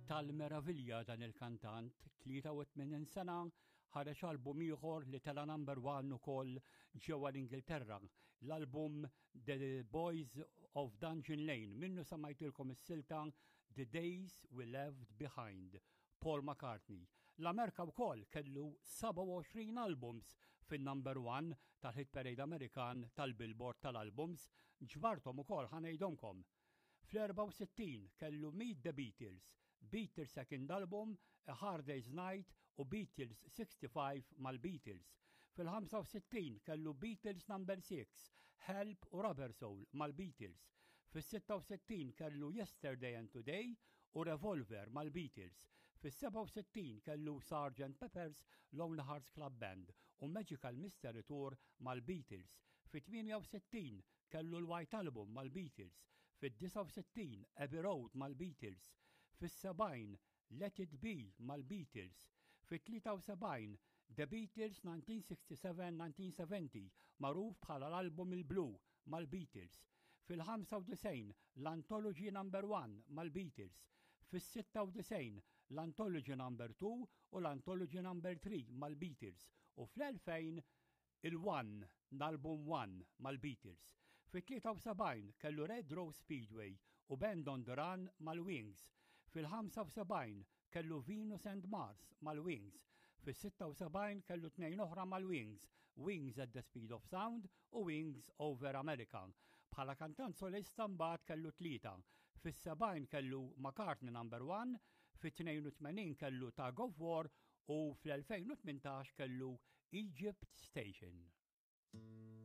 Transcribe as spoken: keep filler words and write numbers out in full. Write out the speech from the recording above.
Tal-meravilja dan il-kantant, tlieta u tmenin sena, ħareġ album ieħor li tela number one ukoll ġewwa l-Ingilterra. L-album The Boys of Dungeon Lane, minnu smajtilkom is-silta The Days We Left Behind. Paul McCartney. L-Amerika wkoll kellu sebgħa u għoxrin albums fin-number one tal-hit parade Amerikan tal-Billboard tal-albums, ġbartom ukoll, ħa ngħidhomlkom. Fl-erbgħa u sittin kellu Meet the Beatles, Beatles Second Album, A Hard Day's Night u Beatles sixty-five mal-Beatles. Fil-ħamsa u sittin kellu Beatles Number six, Help u Rubber Soul mal-Beatles. Fil-sitta u sittin kellu Yesterday and Today u Revolver mal-Beatles. Fis-sebgħa u sittin kellu Sergeant Pepper's Lonely Hearts Club Band u Magical Mystery Tour mal-Beatles. Fit-tmienja u sittin kellu l-White Album mal-Beatles. Fid-disgħa u sittin Abbey Road mal-Beatles. Fis-sebgħin Let It Be mal-Beatles. Fit-tlieta u sebgħin The Beatles nineteen sixty-seven nineteen seventy, magħruf bħala l-album il-Blue, mal-Beatles. Fil-ħamsa u disgħin l-Anthology Number one mal-Beatles. Fis-sitta u disgħin l-Anthology Number two u l-Anthology Number three mal-Beatles. U fl-elfejn il-One, l-album One mal-Beatles. Fit-tlieta u sebgħin kellu Red Rose Speedway u Band on the Run mal-Wings. Fil-ħamsa u sebgħin kellu Venus and Mars mal-Wings. Fis-sitta u sebgħin kellu tnejn oħra mal-Wings, Wings at the Speed of Sound u Wings Over America. Bħala kantant solista mbagħad kellu tlieta. Fis-sebgħin kellu McCartney Number one, fit-tnejn u tmenin kellu Tug of War u fl-elfejn u tmintax kellu Egypt Station.